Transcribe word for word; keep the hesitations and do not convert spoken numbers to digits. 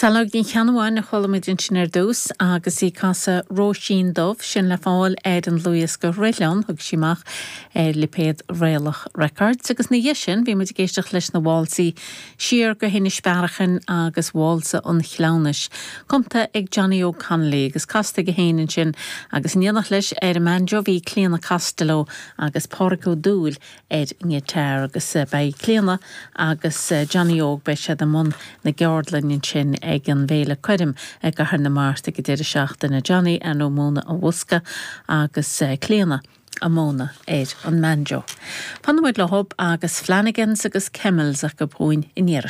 Saileog Ní Cheannabháin a chuala muid ansin ar dtús agus í ag casadh Róisín Dubh sin le fáil ar an dlúthdhiosca Roithleán thug sí amach ar lipéad Réalach Records agus ina dhiaidh sin bhí muid ag éisteacht leis na válsaí siar go hInis Bearachain agus Válsa an Chleamhnais, cumtha ag Johnny Óg Connolly agus casta aige féin ansin agus in éineacht leis ar an mbanjo bhí Clíona Costello agus Pádraig Ó Dúill ar an ngiotár agus beidh Clíona agus Johnny Óg beidh siad i mbun na gceardlann ansin ag an bhFéile Coirm i gCathair na Mart ag an deireadh seachtaine Johnny ag múineadh an bhosca agus Clíona ag múineadh ar an mbanjo. Fanfaidh muid leo agus Flanagans agus Camels acu chugainn in iarra.